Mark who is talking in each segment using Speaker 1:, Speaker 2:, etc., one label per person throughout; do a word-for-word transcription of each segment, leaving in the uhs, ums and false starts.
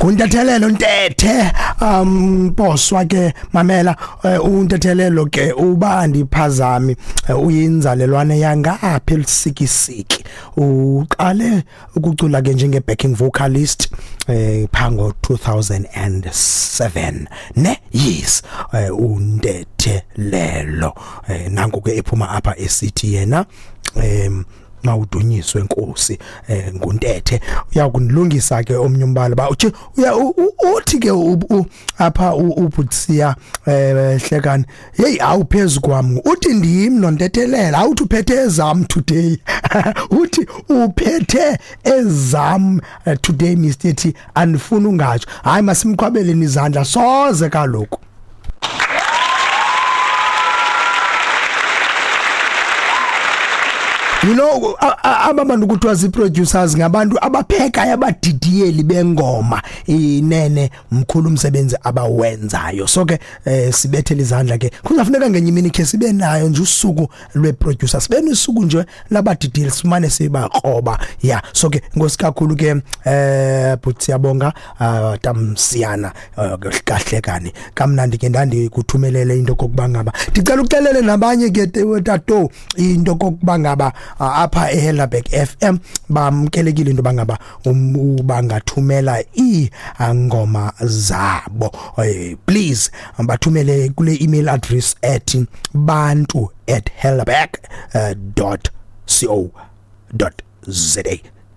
Speaker 1: Nguntethelelo Ntethe um poswa ke mamela uh, untethelelo ke uba andiphazami uh, uyinzalelwane yangapha eLusikisiki. Uqale ukucula ke njenge backing vocalist eh pha ngo two thousand seven ne yes uh, untethelelo eh, nanku ke ephuma apha esithi yena em mawudunyiswe Nkosi eh, nguNtethe. Uyakunilungisa ke omnye umbala ba uthi uya uthi ke apha uButsia eh hlekani hey awuphezulu kwami uthi ndim nontethelela awuthi uphethe ezam today uthi uphethe ezam today Mister T andifuna ungatsho. Hayi masimqhwabeleni izandla soze kaloku. You know ababantu kuthiwa zi-producers ngabantu abaphekayo abadidiyeli bengoma inene mkhulu umsebenzi abawenzayo. So ke eh, sibethele izandla ke kuzafuneka ngenye imini ke sibe nayo nje usuku lwe-producer sibe nosuku nje labadidiyeli simane sibakroba ya. So ke inkosi kakhulu ke eh but siyabonga uh, tamsiyana uh, kahle kani kamnandi ke ndandikuthumelele into kokuba ngaba ndicela uxelele nabanye ke tato into kokuba ngaba apha eHelderberg F M bamkelekile into bangaba bangathumela iingoma zabo. Please bathumele kule email address at bantu at helderberg dot co dot za.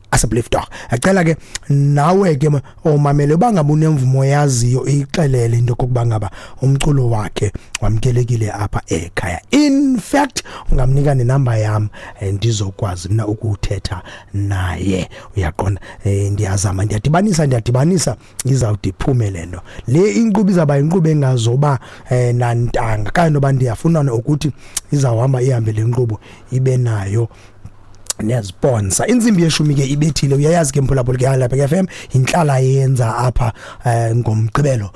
Speaker 1: Asebelief dog acela ke nawe ke omamele bangabe unemvumo yaziyo ixelele into kokuba ngaba umculo wakhe wamkelekile apha ekhaya. In fact ungamnika nenamba yam ndizokwazi mina ukuthetha naye uyaqonda. Ndiyazama ndiyadibanisa ndiyadibanisa izawude iphume lento le inkqubo izaba inkqubo engazoba nantanga kanye noba ndiyafuna ukuthi izawuhamba ihambe le nkqubo ibe nayo neziponsa. Insimbi yeshumi ke ibethile uyayazi ke mphulaphuli ke lapha ke F M inhlala yenza apha ngomgqibelo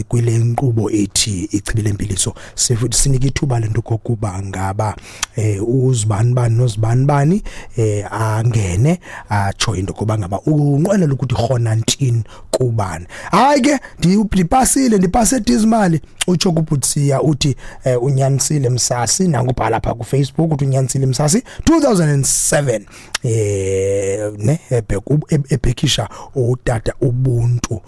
Speaker 1: kwile nkqubo ethi ichibile impiliso sinika ithuba lento kokuba ngaba uzibani bani nozibani bani angene atsho into kokuba ngaba unqwenela ukuthi khona ntini kubani. Hayi ke ndipasile ndipase dizimali utsho kuButsia uthi unyanisile Msasi nangubhala apha ku Facebook uthi unyanisile Msasi two thousand seven eh ne ebhekisha utata Ubuntu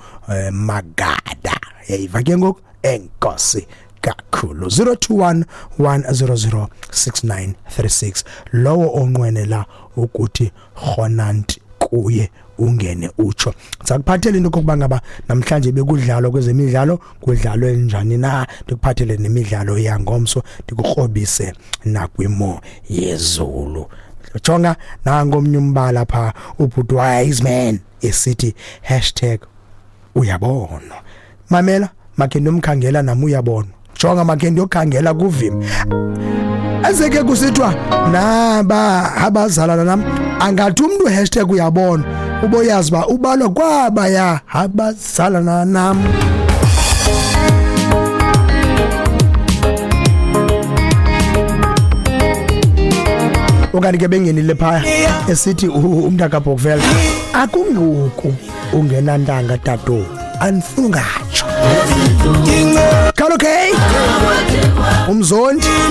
Speaker 1: Magada yayiva ke ngoku enkosi kakhulu. Zero two one one zero zero six nine three six lowo onqwenela ukuthi khonanti kuye ungene utsho. Sakuphathele into kokuba ngaba namhlanje bekudlalwa kwezemidlalo kudlalwe njani na ndikuphathele nemidlalo yangomso ndikukrobise nakwimo yezulu. Jonga nangomnye umbala pha ubhuti wise man esithi hashtag uyabona. Mamela makhe ndomkhangela nami uyabona. Jonga makhe ndiyokhangela kuvimi ezeke kusithiwa naba abazalana nami angathi umuntu hashtag uyabona uboyazi ba ubalwa kwaba ya abazalana nami. Okanye ke bengenile phaya esithi umntaka Bokvel akunguku ungenantanga tato andifuni ungatsho. Okay umzondi.